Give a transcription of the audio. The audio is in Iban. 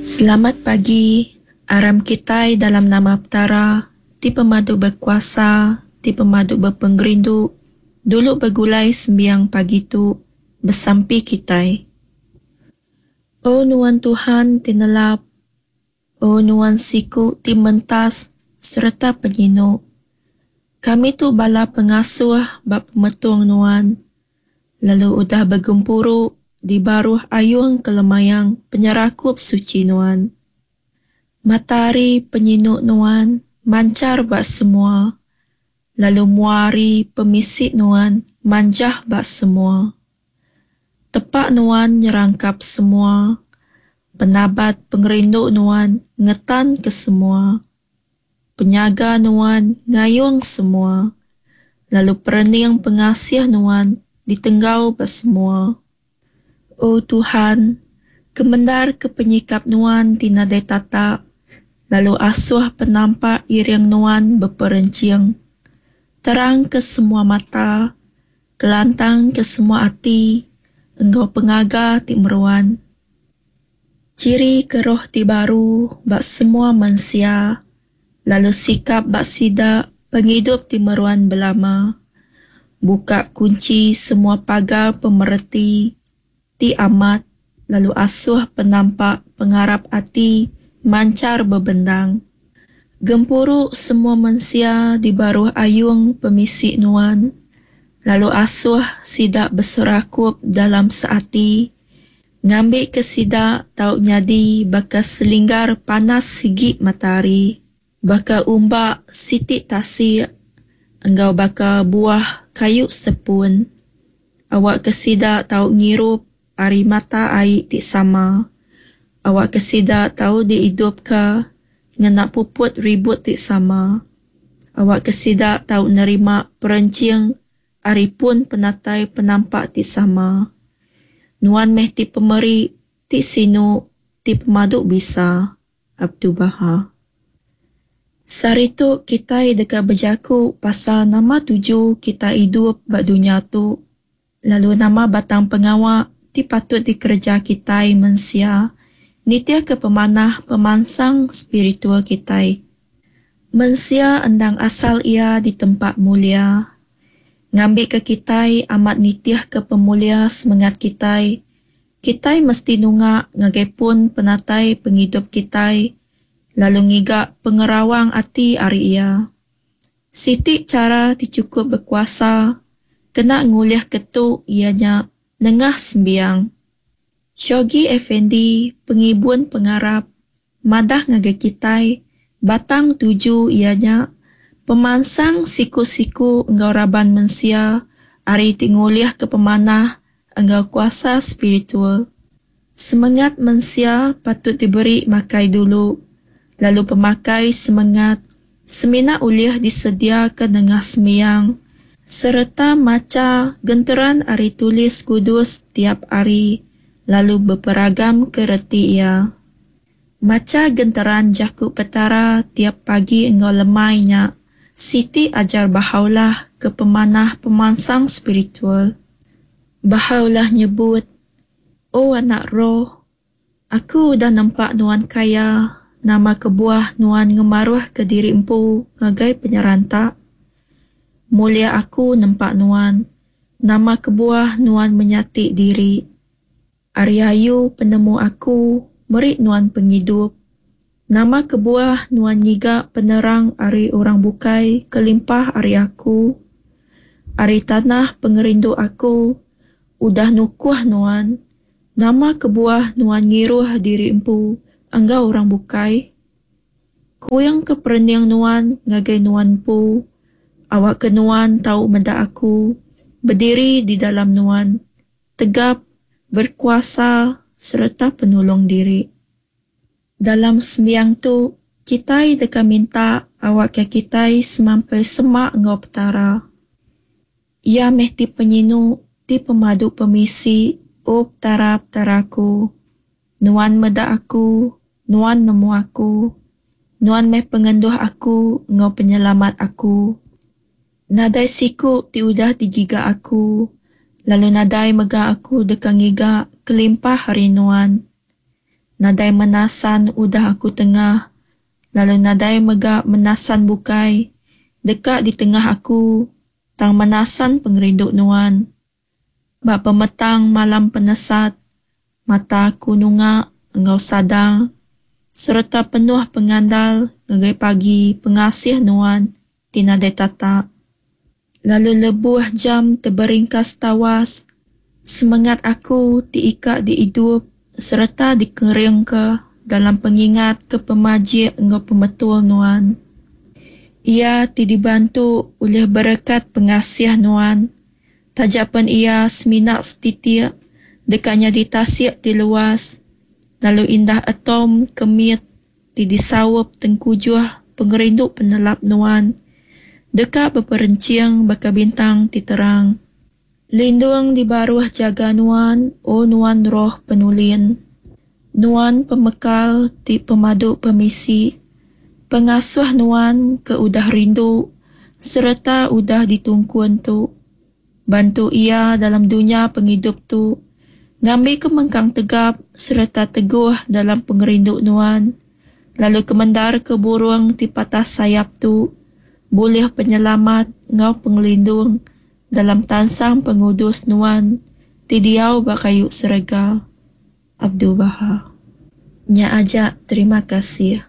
Selamat pagi, aram kitai dalam nama Petara ti pemadu bekuasa, ti pemadu bepengerindu, dulu begulai sembiang pagi tu, besampi kitai. O nuan Tuhan ti nelap, O nuan siku ti mentas sereta penyinu. Kami tu bala pengasuh ba pemetung nuan, lalu udah begempuru di baruh ayung kelemayang penyerakup suchi nuan. Mata hari penyinu nuan manchar ba semua, lalu mua hari pemisi nuan manjah ba semua. Tepa nuan nyerangkap semua, penabat pengerindu nuan ngetanka semua. Penyaga nuan ngayung semua, lalu perening pengasih nuan ditenggau ba semua. O Tuhan, kemendarka penyikap nuan ti nadai tatak, lalu asuh penampak iring nuan beperenching. Terangka semua mata, Kelantang ke semua ati enggau pengaga ti meruan. Chiri ke roh ti baru ba semua mensia lalu sikap ba sida pengidup ti meruan belama. Buka kunchi semua pagar pemereti ti amat lalu asuh penampak pengarap ati manchar bebendang. Gempuru semua mensia di baruh ayung pemisi Nuan, lalu asuh sida beserakup dalam seati, ngambika sida tau nyadi baka selinggar panas sigi matahari, baka umbak siti tasik, enggau baka buah kayu sepun. Awakka sida tau ngirup ari mata ai ti sama. Awakka sida tau diidupka ngena puput ribut ti sama. Awakka sida tau nerima perenching ari pun penatai penampak ti sama. Nuan meh ti pemeri ti sinu ti pemadu bisa. Abdu'l-Bahá. Sehari tu kitai deka bejaku pasal nama tuju kitai idup ba dunya tu lalu nama batang pengawa ti patut dikereja kitai mensia nitihka pemanah pemansang spiritual kitai. Mensia endang asal iya ditempa mulia. Ngambika kitai amat nitihka pemulia semengat kitai, Kitai mesti nunga ngagai pun penatai pengidup kitai lalu ngiga pengerawang ati ari Iya. Siti chara ti chukup bekuasa kena ngulihka tu iya nya nengah sembiang. Shoghi Effendi, pengibun pengarap, madah ngagai kitai batang tuju iya nya pemansang siku-siku enggau raban mensia ari ti ngulihka pemanah enggau kuasa spiritual. Semengat mensia patut diberi makai dulu, lalu pemakai semengat semina ulih disediaka nengah sembiang sereta macha genteran ari Tulis Kudus tiap hari lalu beperagamka reti iya. Macha genteran Jaku Petara tiap pagi enggau lemai nya siti ajar Bahá'u'lláh ke pemanah pemansang spiritual. Bahá'u'lláh nyebut, O anak roh, Aku udah nempa nuan kaya, nama kebuah nuan ngemaruhka diri empu ngagai penyeranta? Mulia Aku nempa nuan, nama kebuah nuan menyati diri? Ari ayu penemu aku meri nuan pengidup. Nama kebuah nuan ngiga penerang ari orang bukai kelimpah ari aku? Ari tanah pengerindu aku udah nukuh nuan, nama kebuah nuan ngiruh diri empu enggau orang bukai? Kuingka perening nuan ngagai nuan empu, awakka nuan tau meda aku bediri di dalam nuan. Tegap, berkuasa sereta penulung diri. Dalam sembiang tu, kitai deka minta awakka kitai semampai semak enggau Petara. Iya meh ti penyinu, ti pemadu pemisi, O Petara, Petara aku. Nuan meda aku, Nuan nemu aku. Nuan meh pengenduh aku enggau penyelamat aku. Nadai siku ti udah digiga aku, lalu nadai mega aku deka ngiga kelimpah ari Nuan. Nadai menasan udah aku tengah, lalu nadai mega menasan bukai deka ditengah aku tang menasan pengerindu Nuan. Ba pemetang malam penesat, mata aku nunga enggau sadar sereta penuh pengandal ngagai pagi pengasih Nuan ti nadai tatak. Lalu lebuh jam teberingkas tawas, semengat aku ti ikak diidup sereta dikeringka dalam pengingat ke pemajik enggau pemetul Nuan. Iya ti dibantu ulih berekat pengasih Nuan, taja pen iya semina setitik deka nyadi tasik ti luas, lalu indah atom ke mit ti disaup tengkujuh pengerindu penelap Nuan deka beperenching baka bintang ti terang. Lindung di baruh jaga Nuan, O Nuan Roh Penulin. Nuan pemekal ti pemadu pemisi, pengasuh Nuan ke udah rindu sereta udah ditungkun tu. Bantu iya dalam dunya pengidup tu, ngambika mengkang tegap sereta teguh dalam pengerindu Nuan, lalu kemendarka burung ti patah sayap tu bulih penyelamat enggau pengelindung dalam tansang pengudus Nuan ti diau ba kayu serega. Abdul-Baha. Nya aja, terima kasih.